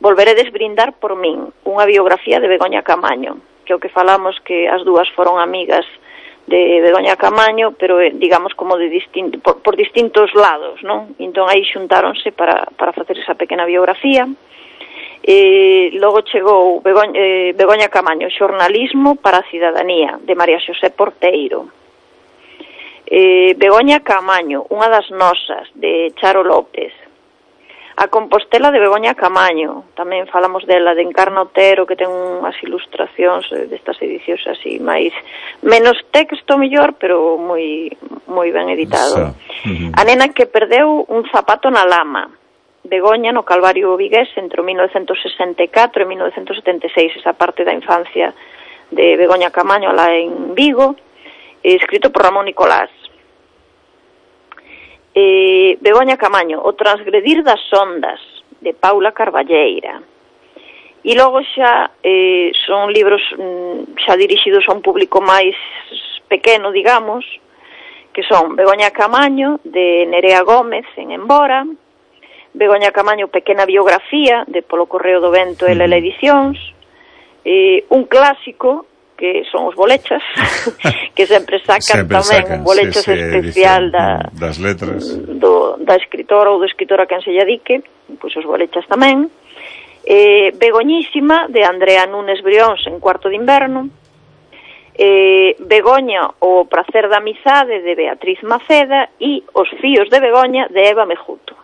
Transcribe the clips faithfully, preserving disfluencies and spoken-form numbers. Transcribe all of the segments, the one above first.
volveredes brindar por min, unha biografía de Begoña Camaño, que o que falamos que as dúas foron amigas de Begoña Camaño, pero digamos como de distinto, por, por distintos lados, non? Entón aí xuntáronse para, para facer esa pequena biografía. E logo chegou Begoña, eh, Begoña Camaño, Xornalismo para a Cidadanía, de María Xosé Porteiro. Eh, Begoña Camaño, unha das nosas, de Charo López. A Compostela de Begoña Camaño, tamén falamos dela, de Encarna Otero, que ten unhas ilustracións destas edicións así, máis menos texto mellor, pero moi moi ben editado. Uh-huh. A nena que perdeu un zapato na lama, Begoña no Calvario Vigués entre mil novecentos sesenta e catro e mil novecentos setenta e seis, esa parte da infancia de Begoña Camaño lá en Vigo, escrito por Ramón Nicolás. Eh, Begoña Camaño, O transgredir das ondas, de Paula Carballeira. E logo xa eh, son libros mm, xa dirixidos a un público máis pequeno, digamos, que son Begoña Camaño, de Nerea Gómez, en Embora, Begoña Camaño, Pequena biografía, de Polo Correo do Vento e Lela Edicións, eh, un clásico, que son os bolechas, que sempre sacan sempre tamén sacan, un bolechas sí, sí, especial da, das letras do, da escritora ou do escritor a quen se lle dedique, pois os bolechas tamén. eh, Begoñísima, de Andrea Núñez Brións, en Cuarto de Inverno. eh, Begoña, O prazer da amizade, de Beatriz Maceda. E Os fíos de Begoña, de Eva Mejuto.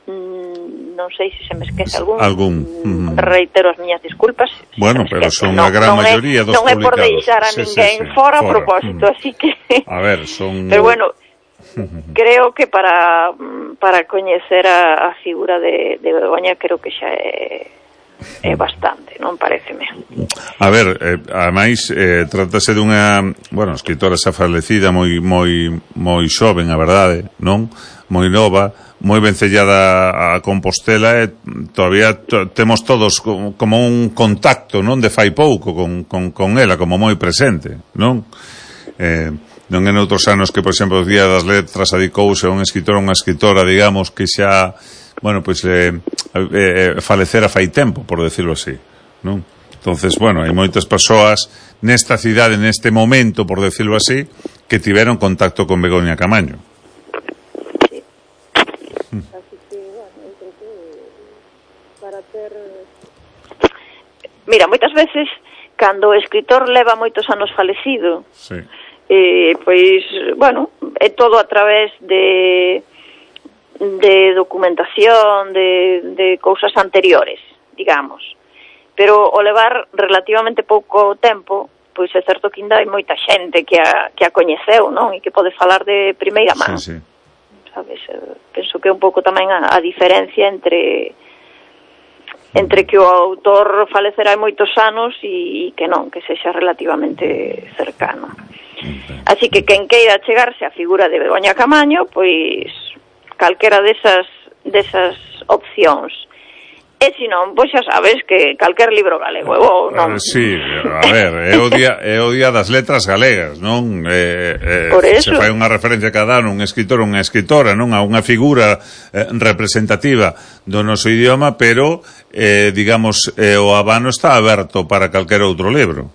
Mm, non sei se se me esquece algún, algún. Mm, reitero as miñas disculpas. Bueno, pero son a gran non maioría dos non publicados. Non é por deixar a sí, ninguén sí, sí. fora, fora a propósito, mm. así que a ver, son pero bueno, creo que para para coñecer a, a figura de, de Begoña creo que xa é é bastante, non pareceme. A ver, eh, ademais eh, trátase dunha, bueno, escritora xa falecida, moi moi moi xoven, a verdade, non? Moi nova, moi vencellada a Compostela, e todavía to, temos todos como, como un contacto, non, de fai pouco con, con, con ela, como moi presente, non? Eh, non en outros anos que, por exemplo, os Día das Letras adicouse a un escritor, unha escritora, digamos, que xa, bueno, pois eh, eh, falecera fai tempo, por decirlo así, non? Entonces, bueno, hai moitas persoas nesta cidade, neste momento, por decirlo así, que tiveron contacto con Begoña Camaño. Mira, moitas veces cando o escritor leva moitos anos falecido, sí. eh, pois, bueno, é todo a través de de documentación, de, de cousas anteriores, digamos. Pero o levar relativamente pouco tempo, pois é certo que ainda hai moita xente que a, que a coñeceu, non? E que pode falar de primeira man. Sí, sí. Sabes? Penso que é un pouco tamén a, a diferencia entre entre que o autor falecerá hai moitos anos e que non, que sexa relativamente cercano. Así que quen queira chegarse á figura de Begoña Camaño, pois calquera desas desas opcións. E se non, pois xa sabes que calquer libro galego é bo, non? Uh, sí, a ver, é o día, é o día das letras galegas, non? Eh, eh, Por eso. Se fai unha referencia cada ano, un escritor ou unha escritora, non? A unha figura eh, representativa do noso idioma, pero, eh, digamos, eh, o abano está aberto para calquer outro libro,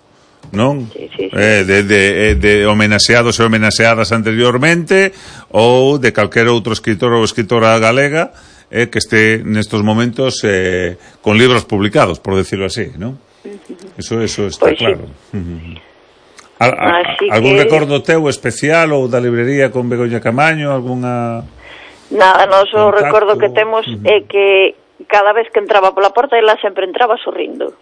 non? Sí, sí, sí. Eh, de, de, de homenaxeados e homenaxeadas anteriormente, ou de calquer outro escritor ou escritora galega, eh, que este nestos momentos eh, con libros publicados, por decirlo así, ¿no? Uh-huh. Eso eso está pues claro. Sí. Uh-huh. A, a, algún que... recordo teu especial ou da librería con Begoña Camaño, algunha Nada, nos o recordo que temos uh-huh. é que cada vez que entraba pola porta ela sempre entraba sorrindo.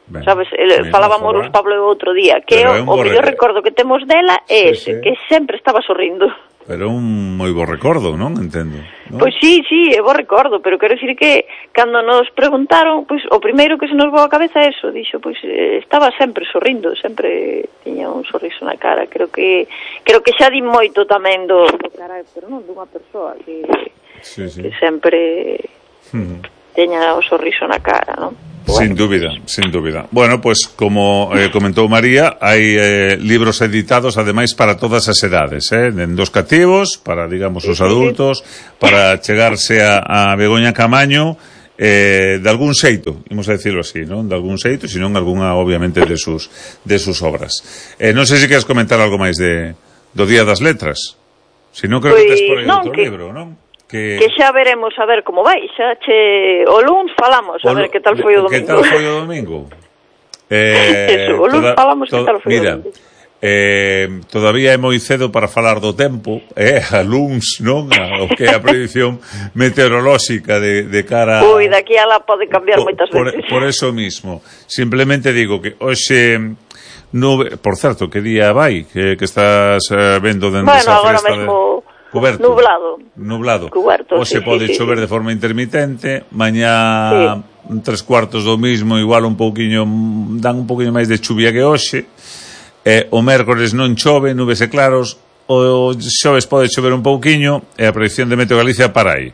Ben, sabes, el, falábamos os Pablo outro día, que o, o mellor recordo que temos dela é sí, ese, sí. que sempre estaba sorrindo. Pero un moi bo recordo, non? Entendo. ¿No? Pois sí, sí, é bo recordo, pero quero dicir que cando nos preguntaron, pois o primeiro que se nos voa a cabeza é eso, dixo, pois eh, estaba sempre sorrindo, sempre tiña un sorriso na cara. Creo que creo que xa di moito tamén do, do carácter, non, dunha persoa que sí, sí. que sempre uh-huh. teña o sorriso na cara, non? Bueno. Sin dúbida, sin dúbida. Bueno, pues como eh, comentou María, hai eh, libros editados ademais para todas as edades, eh, en dos cativos, para, digamos, os adultos, para chegarse a, a Begoña Camaño, eh, de algún xeito, imos a decirlo así, non? De algún xeito, senón algunha, obviamente, de sus, de sus obras. Eh, non sei se queres comentar algo máis de, do Día das Letras. Se non, creo pues, que tes por aí non, outro que, libro, non? Que... que xa veremos a ver como vai, xa che o luns falamos, a o ver que tal foi o domingo. Que tal foi o domingo? Eh, Eso, o luns toda, falamos que tal foi mira, o domingo. Eh, todavía é moi cedo para falar do tempo, eh, a luns, non? A, o que é a predicción meteorolóxica de, de cara... Ui, daqui a la pode cambiar por, moitas veces. Por, por eso mismo. Simplemente digo que hoxe... Nube, por certo, que día vai? Que, que estás uh, vendo dentro bueno, esa festa de... Cuberto. Nublado. Nublado. Cuberto, Hoxe sí, pode sí, chover sí. de forma intermitente, mañá sí. tres cuartos do mismo, igual un pouquiño, dan un pouquiño máis de chuvia que hoxe. Eh, o mércores non chove, nubes e claros, o xoves pode chover un pouquiño, e a predicción de Meteo Galicia para aí.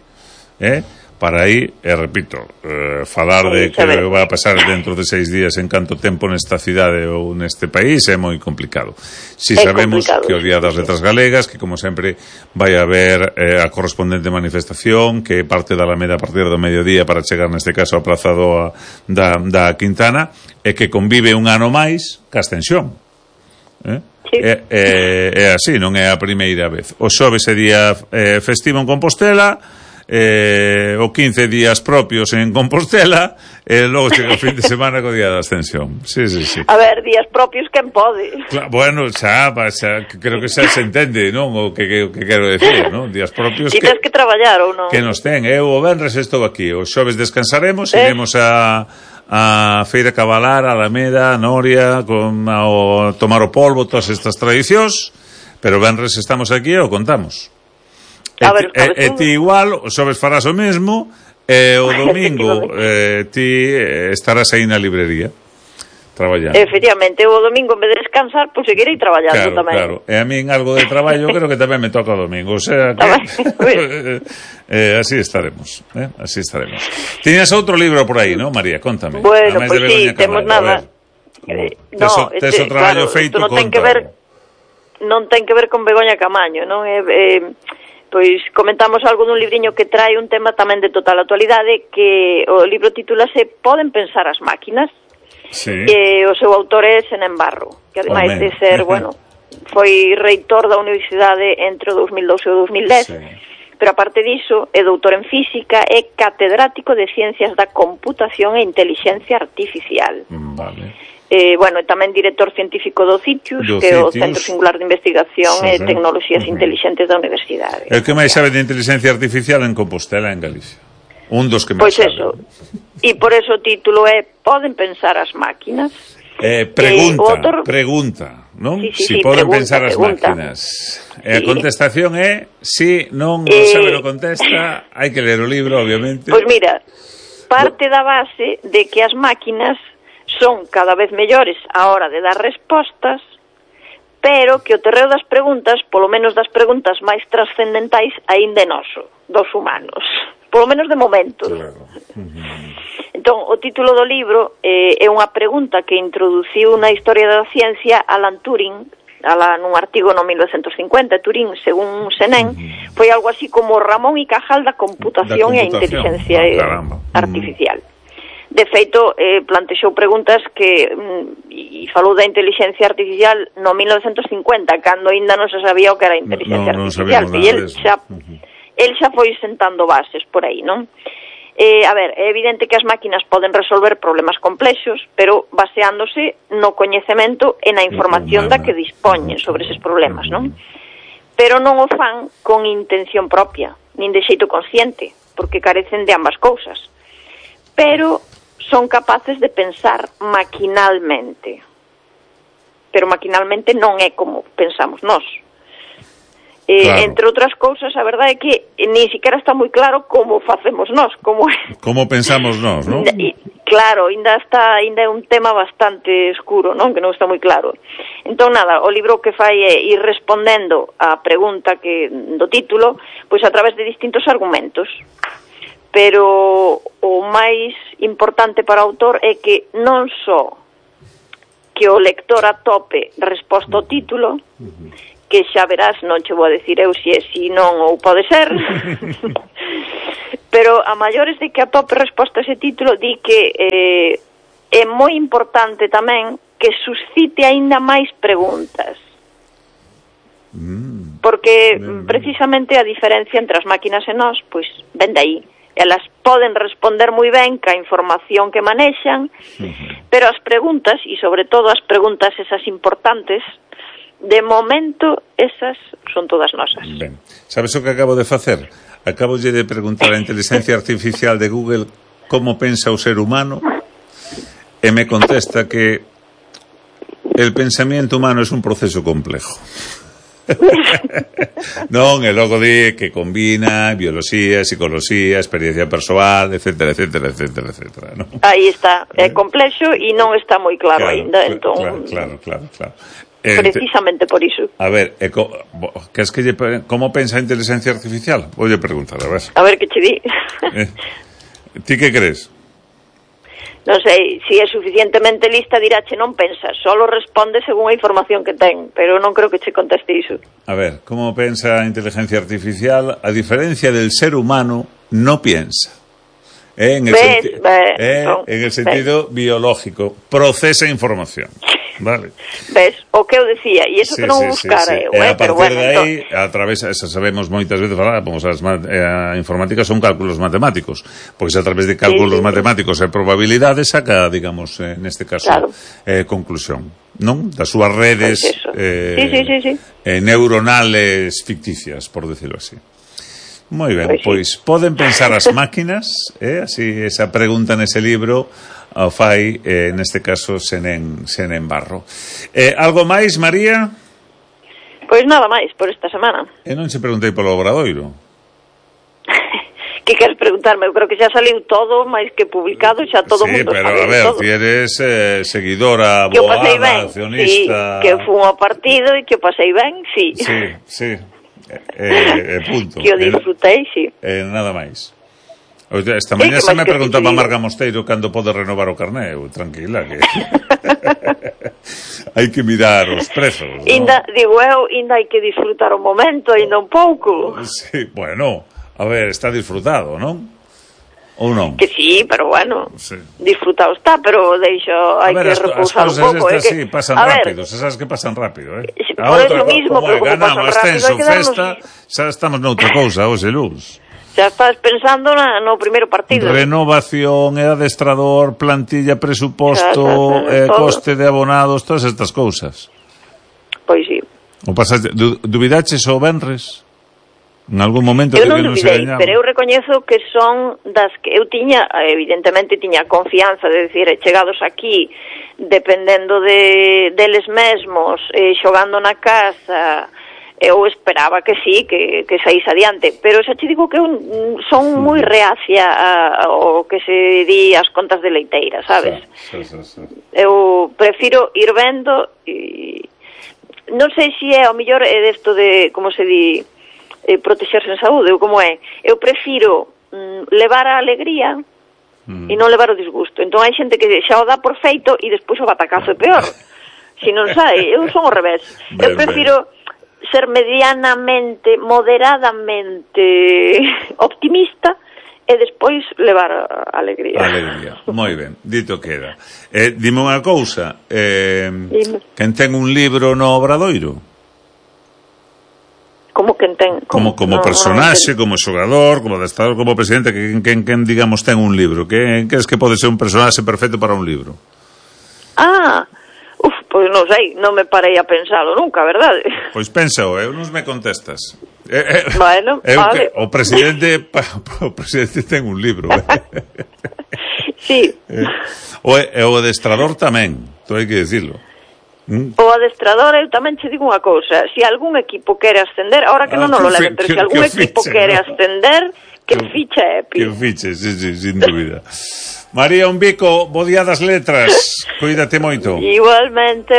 Eh? Para aí, e repito, eh, falar de que vai a pasar dentro de seis días en canto tempo nesta cidade ou neste país é moi complicado. Si é sabemos complicado. Que o Día das Letras Galegas, que como sempre vai haber eh, a correspondente manifestación, que parte da Alameda a partir do mediodía para chegar neste caso á Praza do, da, da Quintana, e que convive un ano máis ca extensión. Eh? Sí. É, é, é así, non é a primeira vez. O xoves é día eh, festivo en Compostela, eh, o quince días propios en Compostela, e logo chega o fin de semana co día da Ascensión. Sí, sí, sí. A ver, días propios quen pode? Claro, bueno, xa, xa, creo que xa se entende, non? O que, que, que quero decir, non? Días propios que... tens que traballar ou non? Que nos ten. Eu o venres estou aquí, o xoves descansaremos, eh? iremos a... a Feira Cabalar, a Alameda, a Noria, con, a, o, tomar o polvo, todas estas tradicións, pero venres estamos aquí e o contamos. E, ver, e, e ti igual, o xoves farás o mesmo, e o domingo eh, ti estarás aí na librería, traballando. Efectivamente, o domingo en vez de descansar, pois pues, seguirei traballando claro, tamén. Claro, e a min algo de traballo creo que tamén me toca o domingo, o sea que... eh, así estaremos, eh? así estaremos. Tiñas outro libro por aí, ¿no, María? Contame. Bueno, pois pues sí, temos nada. Eh, no, tes, tes o traballo claro, feito non con ten que ver, non ten que ver con Begoña Camaño, non é... Eh, pois comentamos algo dun libriño que trae un tema tamén de total actualidade, que o libro titúlase Poden pensar as máquinas. Sí. E o seu autor é Senén Barro, que ademais de ser, bueno, foi reitor da universidade entre o dous mil doce e o dous mil dez, sí. Pero aparte diso, é doutor en física e catedrático de Ciencias da Computación e Inteligencia Artificial. Vale. Eh, bueno, tamén director científico do CITIUS, do que é o Centro Singular de Investigación sí, e Tecnoloxías uh -huh. Inteligentes da Universidade. É o que máis sabe de inteligencia artificial en Compostela, en Galicia. Un dos que máis pois sabe. Pois eso. E por eso o título é Poden pensar as máquinas? Eh, pregunta, eh, autor... pregunta, non? Sí, sí, si sí, poden pregunta, pensar as pregunta. máquinas. E a sí. contestación é si, non, eh... non sabe o contesta, hai que ler o libro, obviamente. Pois mira, parte da base de que as máquinas son cada vez mellores á hora de dar respostas, pero que o terreo das preguntas, polo menos das preguntas máis trascendentais, aínda é noso, dos humanos. Polo menos de momento. Claro. Uh-huh. Entón, o título do libro eh, é unha pregunta que introduciu na historia da ciencia Alan Turing, ala, nun artigo no mil novecentos cincuenta. Turing, según Senén, uh-huh. foi algo así como Ramón y Cajal da computación, da computación. e a inteligencia oh, artificial. Uh-huh. De feito, eh, plantexou preguntas que e falou da inteligencia artificial no mil novecentos cincuenta, cando ainda non se sabía o que era a inteligencia no, no artificial, e el xa, uh-huh. el xa foi sentando bases por aí, non? Eh, a ver, é evidente que as máquinas poden resolver problemas complexos, pero baseándose no coñecemento e na información da que dispoñen sobre eses problemas, non? Pero non o fan con intención propia, nin de xeito consciente, porque carecen de ambas cousas. Pero son capaces de pensar maquinalmente. Pero maquinalmente non é como pensamos nós. Eh, claro. Entre outras cousas, a verdade é que ni siquiera está moi claro como facemos nós, como como pensamos nós, non? Claro, ainda está, ainda é un tema bastante escuro, non? Que non está moi claro. Entón, nada, o libro que fai é ir respondendo á pregunta que do título, pois a través de distintos argumentos. Pero o máis importante para o autor é que non só que o lector atope resposta ao título, que xa verás, non che vou a decir eu se é si non ou pode ser, pero a maiores de que atope resposta a ese título, di que eh, é moi importante tamén que suscite aínda máis preguntas. Mm. Porque mm. precisamente a diferencia entre as máquinas e nós, pois, ven de aí. Elas poden responder moi ben ca información que manexan, uh-huh. pero as preguntas, e sobre todo as preguntas esas importantes, de momento, esas son todas nosas. Ben, sabes o que acabo de facer? Acabo de preguntar a inteligencia artificial de Google como pensa o ser humano e me contesta que el pensamiento humano es un proceso complejo. Non, e logo di que combina bioloxía, psicología, experiencia persoal, etcétera, etcétera, etcétera, etcétera, ¿no? Aí está, é complexo e non está moi claro, claro aínda, entón... Claro, claro, claro, claro. Precisamente por iso. A ver, e co, que es que lle, como pensa a inteligencia artificial? Voy a preguntar, a ver. A ver que che di. Eh, ti que crees? Non sei, se é suficientemente lista dirache non pensa, solo responde según a información que ten, pero non creo que che conteste iso. A ver, como pensa a inteligencia artificial? A diferencia del ser humano, no piensa. Eh, en, el ves, senti- ves, eh, son, en el sentido ves. biológico, procesa información. Vale. Ves, o que eu decía, e iso sí, que non sí, buscara sí, sí. eu, eh, eh, a pero partir bueno, de aí, entón... a través, esa sabemos moitas veces falar, vamos, as, eh, a informática son cálculos matemáticos, pois a través de cálculos sí, sí, matemáticos sí. e probabilidades saca, digamos, eh, neste caso, claro. eh, conclusión, non? Das súas redes pues eh, sí, sí, sí, sí. Eh, neuronales ficticias, por decirlo así. Moi ben, pois, pues poden pensar as máquinas, eh, así esa pregunta nese libro ao fai, eh, neste caso, Senén, Senén Barro. Eh, algo máis, María? Pois nada máis, por esta semana. E non se preguntei polo Obradoiro. Que queres preguntarme? Eu creo que xa saliu todo, máis que publicado, xa todo o sí, mundo pero, sabe a ver, todo. ti eres eh, seguidora, que aboada, accionista... Sí, que fun ao partido e que o pasei ben, sí. Sí, sí. Eh, eh, punto. Que o disfrutei, sí. Eh, nada máis. Esta mañá sí, se me preguntaba Marga Mosteiro cando pode renovar o carné. Eu, tranquila, que hai que mirar os prezos, ¿no? Inda, digo eu, ainda hai que disfrutar o momento, ainda un pouco. Sí, bueno, a ver, está disfrutado, non? Ou non? Que sí, pero bueno, sí. disfrutado está, pero deixo, hai que repousar un pouco. As cousas estas sí, pasan rápido, se sabes que pasan rápido, eh? A outra, mismo, como é, ganamos, ascenso, festa, xa estamos noutra cousa, hoxe, luz. Xa estás pensando na, no primeiro partido. Renovación, e adestrador, plantilla, presuposto, eh, coste de abonados, todas estas cousas. Pois sí. O pasaste, du, dubidaches o venres? En algún momento eu que non non dubidei, se pero eu recoñezo que son das que eu tiña, evidentemente tiña confianza, de decir, chegados aquí, dependendo de deles mesmos, eh, xogando na casa, eu esperaba que sí, que, que saís adiante, pero xa te digo que eu son moi reacia a, a, o que se di as contas de leiteira, sabes? Sí, sí, sí, sí. Eu prefiro ir vendo e non sei se é, ao mellor é desto de, como se di, eh, protexerse en saúde, ou como é, eu prefiro mm, levar a alegría mm. e non levar o disgusto. Entón hai xente que xa o dá por feito e despois o batacazo é peor. Se non sai, eu son ao revés. Ben, eu prefiro ben. ser medianamente, moderadamente optimista e despois levar a alegría. Alegría, moi ben, dito queda. Eh, dime unha cousa, eh, quen ten un libro no Obradoiro? Como quen ten? Como, como no, personaxe, no como xogador, como adestrador, como presidente, que quen, quen, digamos, ten un libro? Que crees que pode ser un personaxe perfecto para un libro? Ah, uf, pois non sei, non me parei a pensalo nunca, verdade? Pois pénsao, eu non me contestas. Eh, eh, bueno, eu vale. Que, o presidente o presidente ten un libro. Eh. Sí. Eh, o, o adestrador tamén, to hai que dicirlo. ¿Mm? O adestrador, eu tamén che digo unha cousa, se algún equipo quere ascender, ahora que ah, non nos lo leven, pero se algún equipo fiche, quere ¿no? ascender, que, que ficha Epi. Que fiche, sí, sí, sin dúbida. María, un bico, bo día das letras, cuídate moito. Igualmente.